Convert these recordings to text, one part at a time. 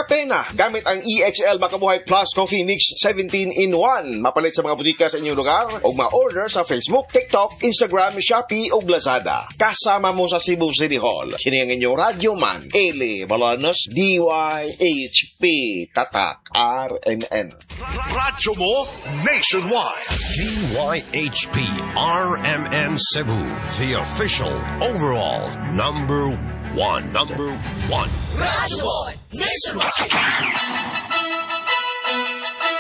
Kape na gamit ang EXL Makabuhay Plus Coffee Mix 17 in 1. Mapalit sa mga butika sa inyong lugar o ma-order sa Facebook, TikTok, Instagram, Shopee o Lazada. Kasama mo sa Cebu City Hall. Kini ang inyong radyo man. Eli Balanos, DYHP, Tatak, RMN. Radyo mo nationwide. DYHP RMN Cebu, the official overall number one. Number one. Radyo mo nationwide.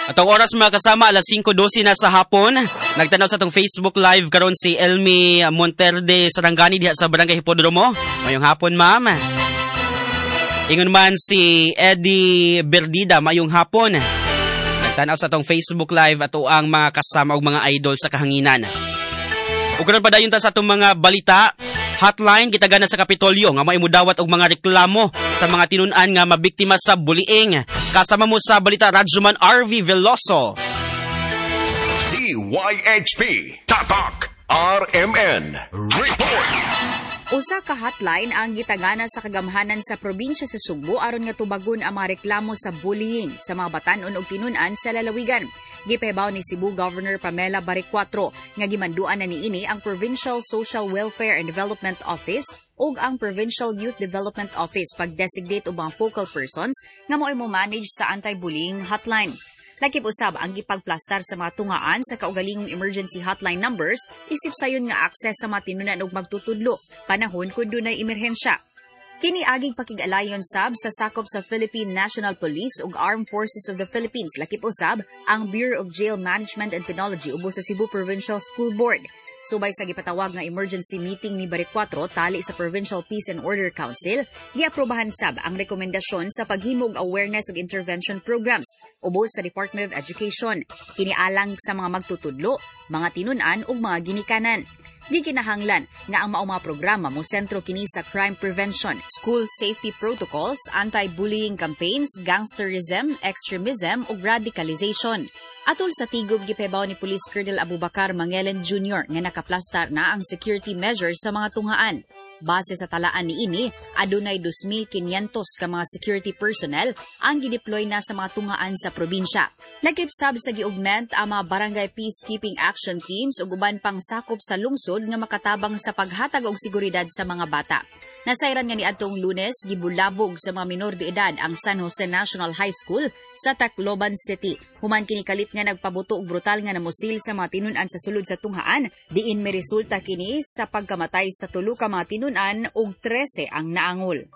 At ang oras, mga kasama, alas 5:12 na sa hapon. Nagtanaw sa atong Facebook Live karon si Elmi Monterde Sarangani diha sa Barangay Hipodromo. Mayong hapon, ma'am. Ingon man si Eddie Berdida, mayong hapon. Nagtanaw sa atong Facebook Live ato ang mga kasama og mga idol sa kahanginan. Ug karon padayon ta sa atong mga balita. Hotline gitagana sa Kapitolyo nga maimudawat og mga reklamo sa mga tinun-an nga mabiktima sa bullying. Kasama mo sa balita, Radyoman RV Veloso. DYHP Tatak RMN Report. Usa ka hotline ang gitagana sa kagamhanan sa probinsya sa Sugbo aron nga tubagon ang mga reklamo sa bullying sa mga batan-on ug tinun-an sa lalawigan. Gipahibaw ni Cebu Governor Pamela Baricuatro nga gimanduan na niini ang Provincial Social Welfare and Development Office ug ang Provincial Youth Development Office pag-designate og mga focal persons nga mo'y mo manage sa anti-bullying hotline. Lakip usab ang gipagplastar sa mga tungaan sa kaugalingong emergency hotline numbers isip sayon nga access sa mga tinunan og magtutudlo panahon kun dunay emerhensya. Kini aging pakig-alayon sab sa sakop sa Philippine National Police ug Armed Forces of the Philippines, lakip usab ang Bureau of Jail Management and Penology ubos sa Cebu Provincial School Board. Subay sa gipatawag nga emergency meeting ni Baricuatro tali sa Provincial Peace and Order Council, giaprobahan sab ang rekomendasyon sa paghimo og awareness ug intervention programs ubos sa Department of Education. Kini alang sa mga magtutudlo, mga tinun-an ug mga ginikanan. Gikinahanglan nga ang maong mga programa mo sentro kini sa crime prevention, school safety protocols, anti-bullying campaigns, gangsterism, extremism ug radicalization. Atol sa tigub, gipahibaw ni Police Colonel Abubakar Mangelen Jr. nga nakaplastar na ang security measures sa mga tunghaan. Base sa talaan niini, adunay 2,500 ka mga security personnel ang gideploy na sa mga tunghaan sa probinsya. Lakip sab sa gi-augment ang mga barangay peacekeeping action teams ug uban pang sakop sa lungsod nga makatabang sa paghatag og seguridad sa mga bata. Nasayran nga niadtong Lunes gibulabog sa mga minor de edad ang San Jose National High School sa Tacloban City. Human kini kalit nga nagpabuto og brutal nga namusil sa mga tinun-an sa sulod sa tunghaan, diin miresulta kini sa pagkamatay sa tulo ka mga tinun-an ug 13 ang naangol.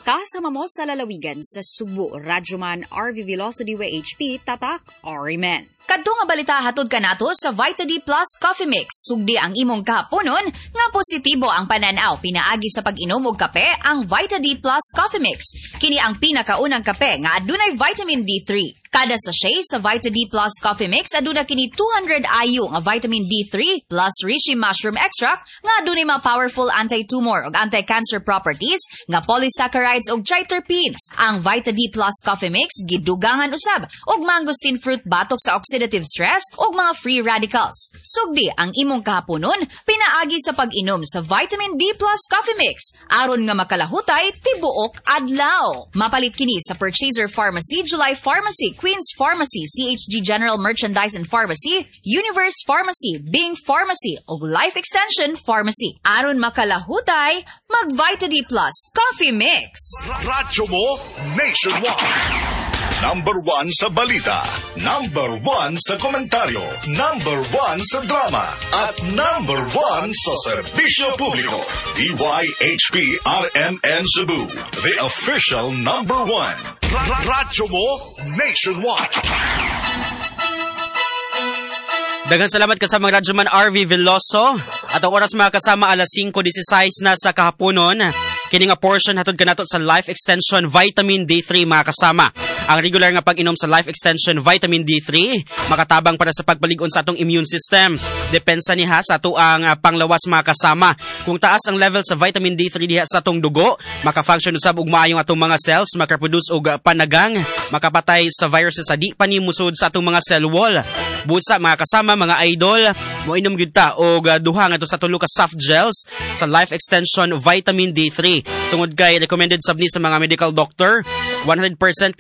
Kasama mo sa lalawigan sa Sugbo, Radyoman RV Veloso, DYHP, Tatak, RMN. Kadto nga balita hatod kanato sa Vita D Plus Coffee Mix. Sugdi ang imong kahaponon nga positibo ang pananaw pinaagi sa pag-inom og kape, ang Vita D Plus Coffee Mix. Kini ang pinakaunang kape nga adunay vitamin D3. Kada sachet sa Vita D Plus Coffee Mix aduna kini 200 IU nga vitamin D3 plus reishi mushroom extract nga adunay mga powerful anti-tumor ug anti-cancer properties nga polysaccharides ug triterpenes. Ang Vita D Plus Coffee Mix gidugangan usab og mangosteen fruit batok sa oxidative stress ug mga free radicals. Sugdi ang imong kahaponon pinaagi sa pag-inom sa Vitamin D Plus Coffee Mix aron nga makalahutay tibuok adlaw. Mapalit kini sa Purchaser Pharmacy, July Pharmacy, Queen's Pharmacy, CHG General Merchandise and Pharmacy, Universe Pharmacy, Bing Pharmacy ug Life Extension Pharmacy. Aron makalahutay, mag Vita D Plus Coffee Mix. Radyo mo nationwide. Number one sa balita. Number one sa komentaryo. Number one sa drama. At number one sa serbisyo publiko. DYHP RMN Cebu. The official number one. Radyo mo nationwide. Daghang salamat kasamang Radyoman RV Veloso. At ang oras, mga kasama, alas 5:16 na sa kahaponon. Kini nga portion hatod kanato sa Life Extension Vitamin D3, mga kasama. Ang regular nga pag-inom sa Life Extension Vitamin D3 makatabang para sa pagpalig-on sa atong immune system. Depensa niya sa ato ang panglawas, mga kasama. Kung taas ang level sa vitamin D3 diha sa atong dugo, maka-function usab og maayong atong mga cells, makaproduce og panagang, makapatay sa viruses sa di pa ni musod sa atong mga cell wall. Busa, mga kasama, mga idol, moinom gyud ta og duha ngadto sa tulo ka soft gels sa Life Extension Vitamin D3. Tungod kay recommended sab ni sa mga medical doctor, 100% nga